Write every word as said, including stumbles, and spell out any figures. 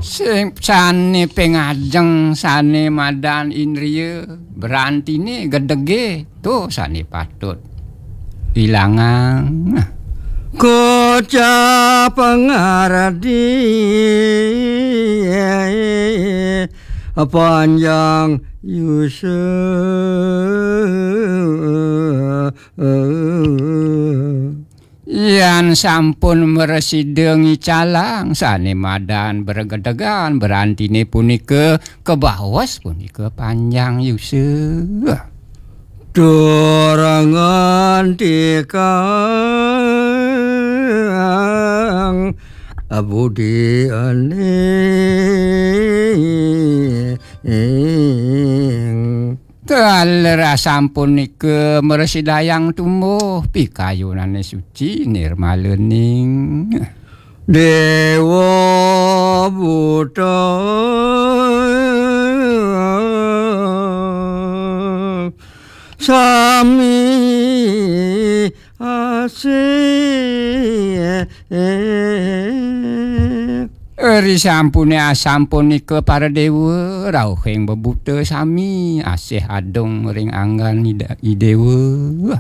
Sing sane pengajeng, sane madan indria, berantine gedege, to sane patut ilangang. Kocap ngardi panjang yusa. Yan sampun mresida ngicalang sane madan bregedegan, berantine punika kabaos punika panjang yusa. Tur ngantikang budi ening. Taler asampunika mresidayang tumbuh pikayunane suci nirmalaning. Dewa buta sami asih. Risampune asampunika para dewa, rauhing bebuta sami asih adung ring anggan Ida-, Idewa.